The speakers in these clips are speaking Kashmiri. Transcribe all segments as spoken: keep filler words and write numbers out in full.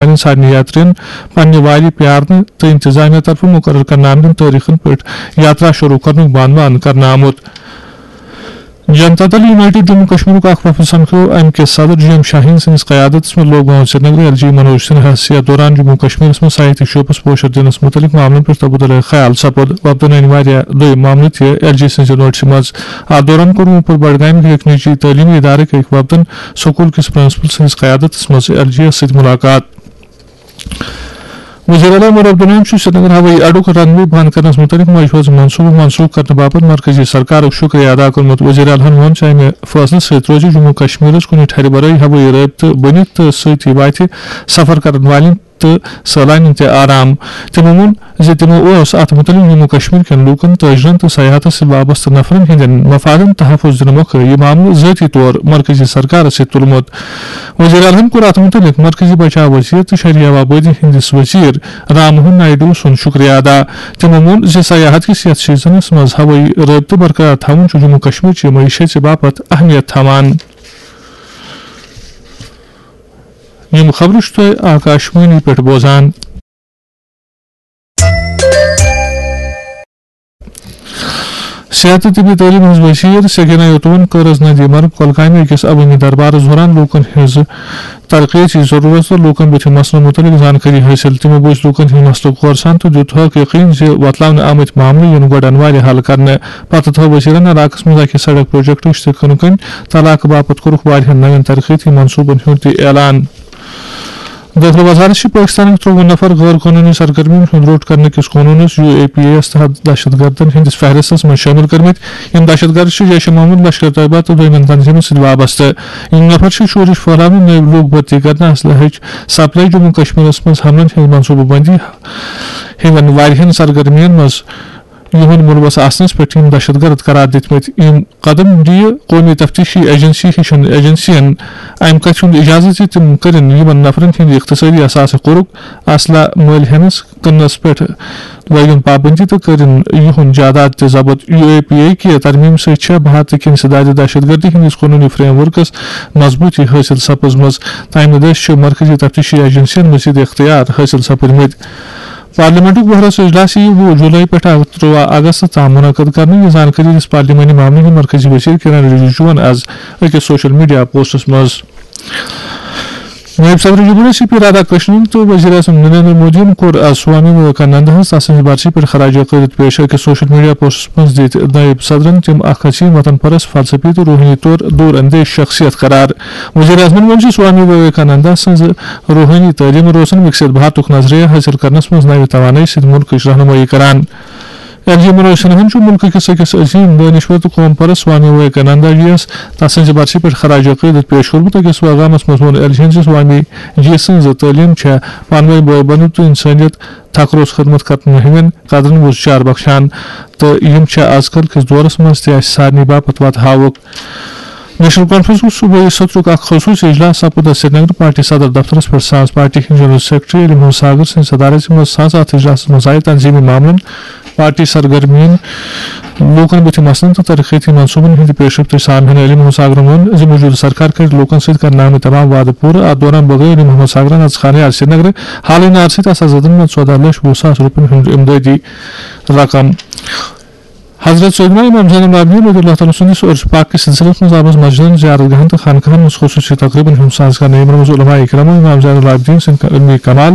والٮ۪ن سارنٕے یاترین پننہِ وارِ پیارنہٕ تہٕ انتظامیہ طرفہٕ مقرر کرنہٕ آمتٮ۪ن تٲریخن پٮ۪ٹھ یاترا شروع کرنُک بانوان کرنہٕ آمُت۔ جنتا دل یونائیٹڈ جموں کشمیرُک اکھ وفد سمکھیو امہِ کہِ صدر جی ایم شاہین سٕنٛدِس قیادتس منٛز لوک بھون سرینگرٕ۔ ایل جی منوج سنہاہس یتھ دوران جموں کشمیرس منٛز سیاحتی شعبس پوشر دِنس متعلق معاملن پٮ۪ٹھ تبادلہ خیال سپُد۔ وفدن أنۍ واریاہ دوٚیم معاملہٕ تہِ ایل جی سٕنٛزِ نوٹسہِ منٛز۔ اتھ دوران کوٚر وُپر بڈگامہِ کہِ أکۍ نجی تعلیمی ادارٕکۍ أکۍ وفدن سکول کِس پرنسپل سٕنٛدِس قیادتس منٛز ایل جی یس سۭتۍ ملاقات۔ وزیر اعلیٰ عمر عبداللہَن چھُ سرینگر ہوٲیی اڈُک رن وے بند کرنس متعلق مجوزٕ منصوبہٕ منسوخ کرنہٕ باپتھ مرکزی سرکارُک شکریہ ادا کوٚرمُت۔ وزیر اعلیٰ ہَن ووٚن زِ امہِ فٲصلہٕ سۭتۍ روزِ جموں کشمیرس کُنہِ ٹھرِ ورٲے ہوٲیی رٲبطہٕ بٔنِتھ تہٕ سۭتی واتہِ سفر کرن والٮ۪ن تہٕ سٲلانٮ۪ن تہِ آرام۔ تِمو ووٚن زِ تِمو اوس اتھ متعلق جموں کشمیر کٮ۪ن لوٗکن، تاجرن تہٕ سیاحتس سۭتۍ وابستہٕ نفرن ہٕنٛدٮ۪ن مفادن تحفظ دِنہٕ مۄکھٕ یہِ معاملہٕ ذٲتی طور مرکزی سرکارس سۭتۍ تُلمُت۔ وزیر اعلیٰ ہَن کوٚر اتھ متعلق مرکزی بچاو وزیر تہٕ شہری آبادی ہٕنٛدِس وزیر رام موہن نائیڈو سُنٛد شکریہ ادا۔ تِمو ووٚن زِ سیاحت کِس یتھ سیزنس منٛز ہوٲیی رٲبطہٕ برقرار تھاوُن چھُ جموں کشمیر چہِ معیشت چہِ باپتھ اہمیت تھاوان۔ یِم خبرٕ چھِو تُہۍ آکاشوانی پٮ۪ٹھ بوزان۔ صحت تہٕ طبی تعلیٖم ہٕنٛز وزیر سکینہ یوتون کٔر از ندی مرگ کۄلگامہِ أکِس عوٲمی دربارس دوران لوٗکن ہٕنٛز ترقیتی ضروٗرت تہٕ لوٗکن بُتھِ مسلہٕ مُتعلق زانکٲری حٲصِل۔ تِمو بوٗزۍ لوٗکن ہٕنٛدۍ مسلہٕ کورسان تہٕ دیُت تھوٚک یقین زِ وۄتلاونہٕ آمٕتۍ معاملہٕ یِن گۄڈٕ انوارِ حل کرنہٕ۔ پتہٕ تھٲو وزیرن علاقس منٛز اکہِ سڑک پروجیکٹٕچ تہٕ کٕنہٕ کٔنۍ تہٕ علاقہٕ باپتھ کوٚرُکھ واریاہن نوٮ۪ن ترقیتی منصوٗبن ہُنٛد تہِ اعلان۔ دٲخلہٕ وزارت چھِ پٲکِستانٕکۍ ترٛۆوُہ نفر غٲر قونوٗنی سرگرمیَن ہُنٛد روٚٹ کرنہٕ کِس قونوٗنَس، یو اے پی اے یَس تحت، دہشت گردن ہٕنٛدِس فہرستَس منٛز شٲمِل کٔرمٕتۍ۔ یِم دہشت گرد چھِ جیش محمد، لشکر طیبہ تہٕ دوٚیمٮ۪ن تنظیٖمَن سۭتۍ وابستہٕ۔ یِم نفر چھِ شورِش پھٲلاونہٕ، نٔوۍ لوٗکھ بھرتی کرنہٕ، اسلحٕچ سپلائی، جموں کشمیرَس منٛز حملن ہٕنٛز منصوٗبہٕ بندی ہِوٮ۪ن واریاہَن سرگرمیَن منٛز یِہُنٛد مُلوث آسنَس پٮ۪ٹھ یِم دہشت گرد قرار دِتمٕتۍ۔ یِم قدم دِیہِ قومی تفتیشی ایجنسی ہِشن ایجنسین امہِ کتھِ ہُنٛد اجازت زِ تِم کٔرِن یِمن نفرن ہٕنٛدِ اقتصٲدی اثاثہٕ قرُک، اسلحہٕ مٔلۍ ہٮ۪نس، کٕننس پٮ۪ٹھ لٲگِن پابندی تہٕ کٔرِن یِہُنٛد جائیداد تہِ ضبط۔ یو اے پی اے کہِ ترمیم سۭتۍ چھےٚ بھارتہٕ کِنۍ سدادِ دہشت گردی ہٕنٛدِس قونوٗنی فریم ورکس مضبوٗطی حٲصِل سپٕزمٕژ۔ تمہِ دٔسۍ چھِ مرکزی تفتیشی ایجنسین مزید اختیار حٲصِل سپٕدمٕتۍ۔ پارلیمنٹُک وُہرس اجلاس یِیہِ وُہ جولائی پٮ۪ٹھ ترٛواہ اگست تام منعقد کرنہٕ۔ یہِ زانکٲری دِژ پارلیمانی معاملہٕ ہٕنٛدۍ مرکزی وزیر کِرن رجیجوَن از أکِس سوشل میڈیا پوسٹس منٛز۔ نٲیِب صدر جمہوریہ سی پی رادھا کرشنن تہٕ وزیر اعظم نریندر مودیَن کوٚر از سوامی وویکاننداہَس تسٕنٛزِ برسی پٮ۪ٹھ خراج عقیدت پیش۔ أکِس سوشل میڈیا پوسٹس منٛز دِتۍ نٲیِب صدرن تِم اکھ عظیم وطن پرست، فلسفی تہٕ روحٲنی طور دوٗر اندیش شخصیت قرار۔ وزیر اعظمن ووٚن زِ سوامی وویکانندا سٕنٛز روحٲنی تعلیمن روزن وِکسِت بھارتُک نظریہ حٲصِل کرنس منٛز نوِ توانٲیی سۭتۍ مُلکٕچ رہنمٲیی کران۔ ایل جی منوج سنہاہن چھُ مُلکہٕ کِس أکِس عظیٖم دٲنِشور تہٕ قوم پرست سوامی وویکانندا جی یَس تسٕنٛزِ برسی پٮ۪ٹھ خراج عقیدت پیش کوٚرمُت۔ أکِس پیغامس منٛز ووٚن ایل جی یَن زِ سوامی جی سٕنٛز تعلیٖم چھےٚ پانہٕ ؤنۍ بٲے بنُن تہٕ اِنسٲنیت تھکروس خدمت کرنہٕ ہٕنٛدٮ۪ن قدرن وُزجار بخشان، تہٕ یِم چھےٚ از کل کِس دورس منٛز تہِ اسہِ سارنٕے باپتھ وتہٕ ہاوُک۔ نیشنل کانفرنسُک صوبٲئی سطرُک اکھ خصوٗصی اجلاس سپُد سرینگر پارٹی صدر دفترس پٮ۪ٹھ سانز پارٹی ہٕنٛدۍ جنرل سیکرٹری علی محمد ساگر سٕنٛدِ صدارت منٛز۔ سانز اتھ اجلاسس منٛز آیہِ تنظیمی معاملن، پارٹی سرگرمین، لوٗکن بُتھِ مسلن تہٕ ترقیتی منصوٗبن ہٕنٛدِ پیش رفت سامعین۔ علی محمد ساگرن ووٚن زِ موجودٕ سرکار کرِ لوٗکن سۭتۍ کرنہٕ آمٕتۍ تمام وعدٕ پوٗرٕ۔ اتھ دوران بٲگرٲو علی محمد ساگرن از خانہ یار سرینگر حالٕے نارسٕے تس آزادن منٛز ژۄداہ لچھ وُہ ساس رۄپین ہُنٛد امدادی رقم۔ حضرت سیدنا امام زین العابدین رضی اللہ تعالیٰ سٕنٛدِس عرس پاک کِس سلسلس منٛز آمٕژ مسجدن، زیارت گاہن تہٕ خانقاہن منٛز خصوٗصی تقریبن ہُنٛد ساز کرنہٕ۔ یِمن منٛز علماء کرام امام زین العابدین سٕنٛدۍ علمی کمال،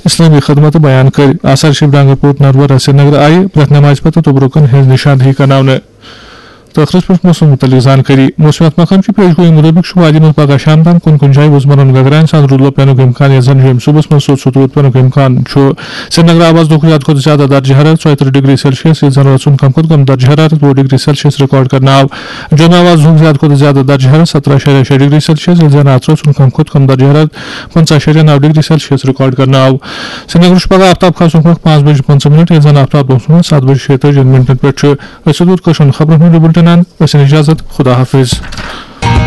اسلٲمی خدمت بیان کٔرۍ۔ آثار شریف ڈانگر پوٹ نروارہ سرینگر آیہِ پرٛٮ۪تھ نمازِ پتہٕ تبرکن ہٕنٛز نشاندہی کرناونہٕ۔ تہٕ ٲخرس پٮ۪ٹھ موسم متعلق زانکٲری۔ موسمیات محکمہٕ چہِ پیش گویی مُطٲبِق چھُ وادی منٛز پگہہ شام تام کُنہِ کُنہِ جایہِ وُزمرن گگراین سان روٗدٕ لوٚپ پینُک امکان، یتھ زن جیٚمہِ صُبحس منٛز سوٚت سوٚت روٗد پینُک امکان چھُ۔ سرینگر آو از دۄہُک زیادٕ کھۄتہٕ زیادٕ درجہٕ حرارت ژۄیہِ ترٕٛہ ڈگری سیلسیس، ییٚلہِ زن رٲژ ہُنٛد کم کھۄتہٕ کم درجہٕ حرارت وُہ ڈگری سیلسیس ریکارڈ کرنہٕ آو۔ جوٚم آو از دۄہُک زیادٕ کھۄتہٕ زیادٕ درجہٕ حرارت سترہ اعشاریہ شےٚ ڈگری سیلسیس، ییٚلہِ زن اتھ رٲژ ہُنٛد کم کھۄتہٕ کم درجہٕ حرارت پنٛژاہ اعشاریہ نَو ڈگری سیلسیس ریکارڈ کرنہٕ آو۔ سرینگرس چھُ پگہہ آفتاب کھسنُک وقت پانٛژھ بجہِ پنٛژاہ منٹ، ییٚلہِ زن آفتاب لوسنُک وقت ستھ بجہِ شیٚیہِ تٲجی منٹن پٮ۪ٹھ چھُ۔ أسۍ ووت کٲشُر خبرن ہُنٛد یہِ بُلٹن اند۔ أسۍ نِش اجازت۔ خدا حافظ۔